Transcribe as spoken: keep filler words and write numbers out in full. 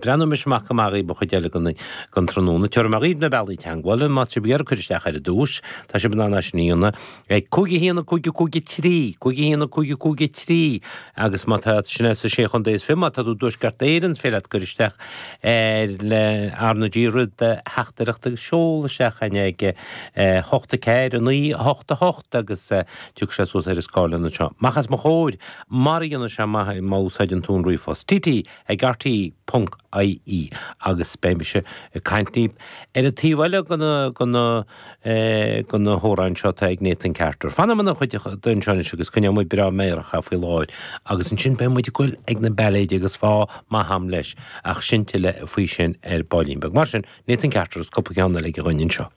Breathnóidh mise amach go maith ba chuid eile den den tráthnóna. Tabharfaidh mé dhaoibh na bealaí teagmhála má tá sibh ag iarraidh cur isteach ar dtús, tá sibh in ann é sin a dhéanamh ag cúig a haon a cúig a cúig a trí, cúig a haon a cúig a cúig a trí agus má tá sin sa sé chontae is fiche, má tá tú i dTuaisceart Éireann, is féidir leat cur isteach ar le R na G roimh do theachtaireacht agus seol isteach chugainn ag hocht a ceathair a naoi a hocht a hocht agus tiocfaidh sé suas ar an scáileán anseo. Amach os mo chomhair, mar a dhéanann sé maith má úsáideann tú an ríomhphost, T T ag R T ponc I E agus beidh mise ag caint libh ar an taobh eile de na de na hamhráin seo atá ag Nathan Carter. Fanfaidh muid ina chuideachta anseo anois agus coinneoidh muid breá meidhreach faoi láthair agus ansin beidh muid ag goil ag na bailéid agus fáth maith a'm leis ach sin tuilleadh faoi sin ar baillín beag. Mar sin, Nathan Carter is cúpla ceann eile ag a dhuine anseo.